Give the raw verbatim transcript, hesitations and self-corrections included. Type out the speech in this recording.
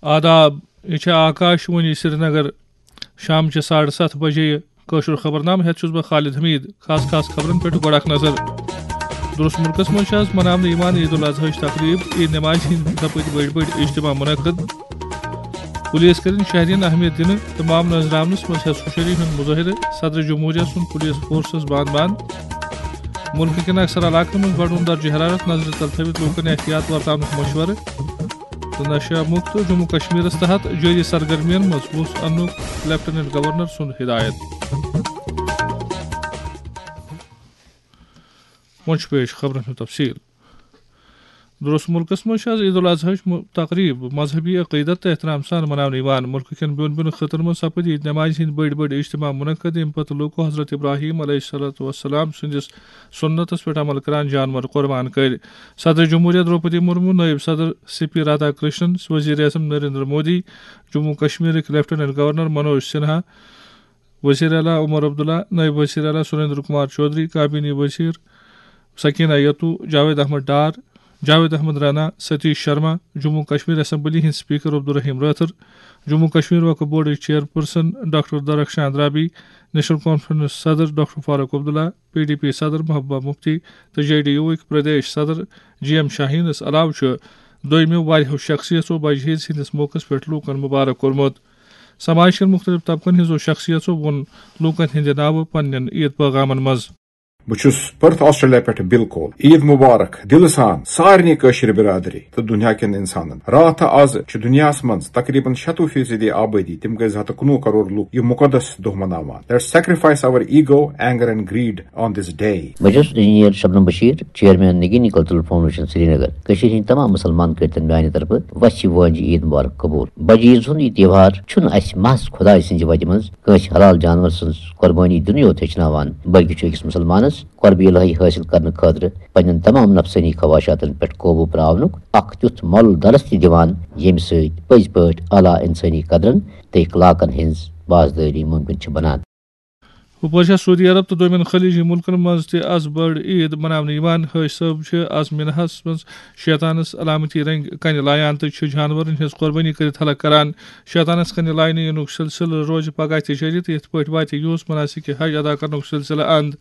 آداب، یہِ چھِ آکاش وانی سرینگر۔ شام چہِ ساڑٕ ستھ بجے یہِ کٲشُر خبرنامہٕ ہٮ۪تھ چھُس بہٕ خالد حمید۔ خاص خاص خبرن پٮ۪ٹھ گۄڈٕ اکھ نظر۔ درست مُلکس منٛز چھِ آز مناونہٕ یِوان عید الاضحیٰ ہٕچ تقریب۔ عید نمازِ ہٕنٛدۍ دۄہ پٔتۍ بٔڑۍ بٔڑۍ اجتماع منعقد۔ پُلیٖس کٔرِن شہرین اہمیت دِنہٕ تہٕ مامہٕ نٲزراونس منٛز ہٮ۪س ہُشٲری ہُنٛد مظٲہرٕ۔ صدر جمہوریہ سُنٛد پُلیٖس فورسس باند باند۔ مُلکہٕ کٮ۪ن اکثر علاقن منٛز بڑوُن درجہ حرارت، نظرِ تل تھٲوِتھ لوٗکن احتیاط ورتاونُک مشورٕ۔ تہٕ نشہ مُکت جموں کشمیرس تحت جٲری سرگرمین منٛز وُژھ اننُک لیفٹیننٹ گورنر سُنٛد ہدایت۔ وۄنۍ چھُ پیش خبرن ہُنٛد تفصیل۔ درست مُلکس منٛز چھِ آز عید الاضحیٰ ہٕچ مُ-، تقریب مذہبی عقیدت تہٕ احترام سان مناونہٕ یِوان۔ مُلکہٕ کٮ۪ن بیوٚن بیوٚن خطن منٛز سپٕدۍ عید نمازِ ہٕنٛدۍ بٔڑۍ بٔڑۍ اجتماع منعقد، ییٚمہِ پتہٕ لوٗکو حضرت ابراہیم علیہ الصلوۃ والسلام سٕنٛدِس سُنتس پٮ۪ٹھ عمل کران جانور قربان کٔرۍ۔ صدر جمہوریہ درٛوپدی مرمو، نٲیِب صدر سی پی رادھا کرشنن، وزیر اعظم نریندر مودی، جموں کشمیرٕکۍ لیفٹیننٹ گورنر منوج سنہا، وزیر اعلیٰ عمر عبداللہ، نٲیِب وزیر اعلیٰ سریندر کمار چودھری، کابینی وزیر سکینہ یتو، جاوید احمد ڈار، جاوید احمد رانا، ستیش شرما، جموں کشمیر اسمبلی ہٕنٛدۍ اسپیکر عبدالرحیم رٲتھر، جموں کشمیر وقف بورڈٕچ چیئرپرسن ڈاکٹر درخشان رابی، نیشنل کانفرنس صدر doctor Farooq Abdullah, P D P صدر محبوبہ مفتی تہٕ جے ڈی یوٗ وٕکۍ پردیش صدر جی ایم شاہینس علاوٕ چھُ دوٚیمٮ۪و واریاہو شخصیژو بجہِ عیز ہٕنٛدِس موقعس پٮ۪ٹھ لوٗکن مبارک کوٚرمُت۔ سماج کٮ۪ن مُختٔلِف طبقن ہٕنٛزو شخصیژو ووٚن لوٗکن ہٕنٛدِ ناوٕ پننٮ۪ن عید پیغامن منٛز۔ بہٕ چھُس پٔرتھ آسٹریلیا پٮ۪ٹھ بِل کول۔ عید مبارک دِلہٕ سان سارنٕے کٲشِر برادری تہٕ دُنیا کٮ۪ن اِنسانن۔ راتھ تہٕ از چھِ دُنیاہس منٛز تقریباً شیٚتوُہ فیصدی آبٲدی، تِم گٔے زٕ ہتھ تہٕ کُنوُہ کرور لوٗکھ، یہِ مُقدس دۄہ مناوان۔ Let's sacrifice our ego, anger and greed on this day. بہٕ چھُس engineer Shabnam Bashir, chairman Nigeeni cultural foundation Srinagar. کٔشیٖرِ ہٕنٛدۍ تمام مُسلمان کٔرۍ تن میانہِ طرفہٕ وسہِ وٲنجہِ عید مبارک قبول۔ بجہِ عیز ہُنٛد یہِ تہوار چھُنہٕ اسہِ محض خدایہِ سٕنٛزِ وتہِ منٛز کٲنٛسہِ حلال جانور سٕنٛز قربٲنی دِنُے یوت ہیٚچھناوان، بلکہِ چھُ أکِس مُسلمانس قربِ الہی حٲصِل کرنہٕ خٲطرٕ پننٮ۪ن تمام نفسٲنی خواہشاتن پٮ۪ٹھ قوبوٗ پراونُک اکھ تیُتھ مۄل درس تہِ دِوان، ییٚمہِ سۭتۍ پٔزۍ پٲٹھۍ اعلیٰ انسٲنی قدرن تہٕ اخلاقن ہٕنٛز پاسدٲری مُمکِن چھِ بنان۔ ہُپٲرۍ چھےٚ سعودی عرب تہٕ دوٚیمٮ۪ن خلیجی مُلکن منٛز تہِ از بٔڑ عید مناونہٕ یِوان۔ حٲج صٲب چھِ از مِناہس منٛز شیطانس علامتی رنٛگۍ کنہِ لایان تہٕ چھِ جانورن ہٕنٛز قربٲنی کٔرِتھ حلق کران۔ شیطانس کنہِ لاینہٕ یِنُک سلسلہٕ روزِ پگاہ تہِ جٲری تہٕ یِتھ پٲٹھۍ واتہِ یِہُس مناسک حج ادا کرنُک سلسلہٕ اند۔